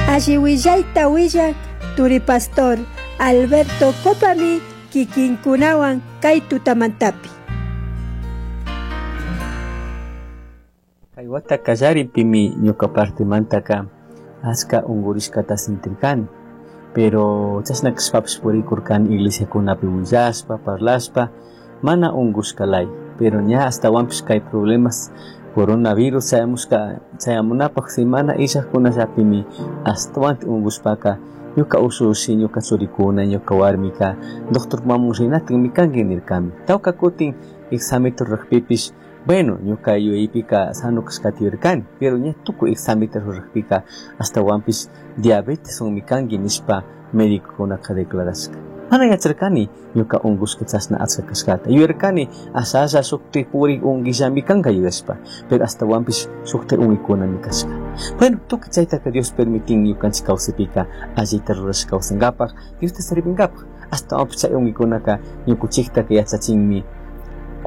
Alli willayta willak turipastor Alberto Copami kikinkunawan kay tutamantapi. Kay wata kallaripimi ñuka partimantaka achka unkurishkata sintirkani, pero chashna kashpapish purikurkani iglesiakunapi willashpa, parlashpa, mana unkushkalay, pero ña ashtawanpish kay problemas coronavirus chayamushka chayamunapaj semana illajkunallapimi ashtawan unkushpaka ñuka ushushi, ñuka churikuna, ñuka warmika doctor mamun rinatikmi kanki nirkami. Tawka kutin examita rurajpipish, bueno, ñuka yuyaypika sano kashkata yuyarkani, pero ña tukuy examita rurajpika ashtawanpish diabetes unmi kanki nishpa médicokunaka declarashka. Mana yacharkani ñuka unkushka chashna achka kashkata. Yuyarkani ashalla shukti purik unkillami kanka yuyashpa, pero ashtawanpish shukti unkuykunami kashka. Bueno, tukuy chaytaka Dios permitin ñukanchik kawsaypika allita rurashka kawsankapaj, Diosta servinkapaj. Ashtawanpish chay unkuykunaka ñukunchiktaka yachachinmi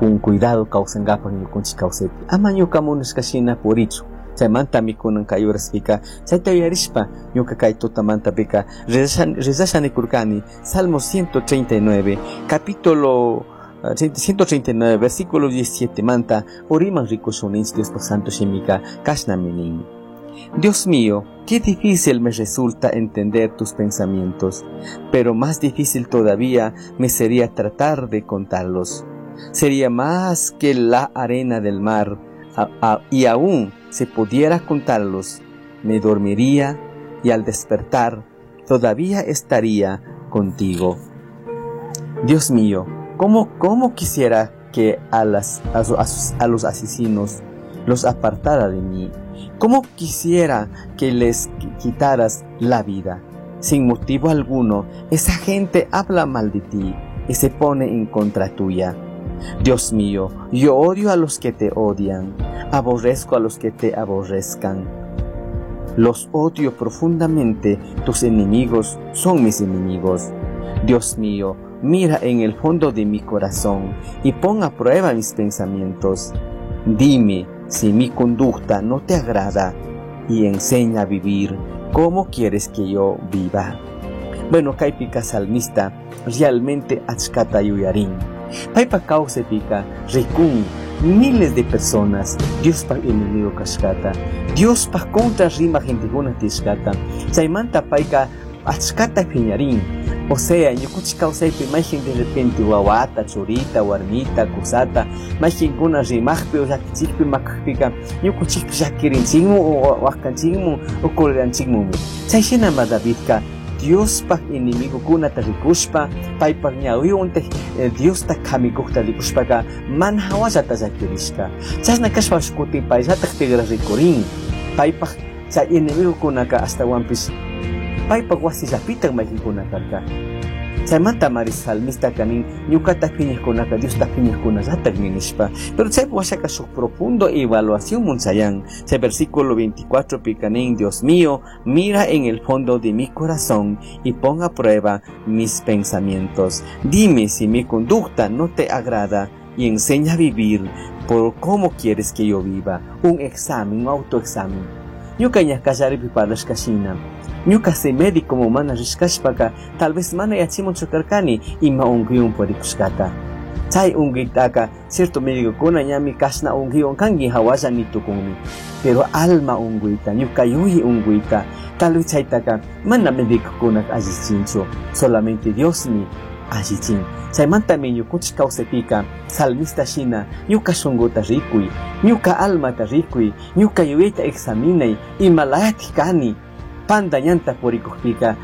con cuidado kawsankapaj ñukunchik kawsaypi. Ama ñuka munashka shina purichu. Chaymantami kunan kay uraspika chayta yuyarishpa ñuka kay tutamantapika rezasha nikurkani Salmo 139, capítulo 139, versículo 17 manta uriman rikushun Diospaj santo shimika kashnami nin. Dios mío, qué difícil me resulta entender tus pensamientos, pero más difícil todavía me sería tratar de contarlos. Sería más que la arena del mar, y aún si pudiera contarlos, me dormiría y al despertar todavía estaría contigo. Dios mío, ¿cómo quisiera que a los asesinos los apartara de mí? ¿Cómo quisiera que les quitaras la vida? Sin motivo alguno, esa gente habla mal de ti y se pone en contra tuya. Dios mío, yo odio a los que te odian, aborrezco a los que te aborrezcan. Los odio profundamente, tus enemigos son mis enemigos. Dios mío, mira en el fondo de mi corazón y pon a prueba mis pensamientos. Dime si mi conducta no te agrada y enseña a vivir como quieres que yo viva. Bueno, kaypika salmista realmente achkata yuyarin. Paypa kawsaypika rikun miles de personas Diospaj enemigo kashkata, Diospaj contra rima gentekuna tiyashkata. Chaymanta payka achkata phiñarin. O sea, ñukunchik kawsaypi mayjin de repente wawata, churita, warmita, kusata, mayjinkuna rimajpi o llakichikpi makajpika ñukunchikpi llakirinchikmu o waqanchikmu o coleranchikmumi. Chay shinama Davidka Diospaj enemigokunata rikushpa, paypaj ñawiwantaj Diosta kamikukta rikushpaka mana hawallata llakirishka. Chashna kashpapish kutin payllataj tigra rikurin. Paypaj chay enemigokunaka ashtawanpish paypaj wasillapitaj mayqinkuna karka. Chaymanta mari salmista kanin ñukata phiñajkunaka Diosta phiñajkunallatajmi nishpa. Pero chay washaka shuk profundo evaluación munchayan. Chay versículo 24 pikanin, Dios mío, mira en el fondo de mi corazón y pon a prueba mis pensamientos. Dime si mi conducta no te agrada y enseña a vivir por cómo quieres que yo viva. Un examen, un autoexamen. Ñuka ña kallaripi parlashka shina. Ñuka se médico mo mana rishkashpaka, tal vez mana yachimun chukarkani ima unkuywan purikushkata. Chay unkuytaka, cierto médico kuna ñami kashna unkuywan kanki hawalla nitukunmi. Pero alma unkuyta, ñuka yuyi unkuyta, tal vez chaytaka mana médico kuna allichinchu, solamente Diosmi allichin. Chaymantami ñukunchik kawsaypika salmista shina ñuka shunkuta rikuy, ñuka almata rikuy, ñuka yuyayta examinay, imalayatik kani. Panda ñanta purikujpika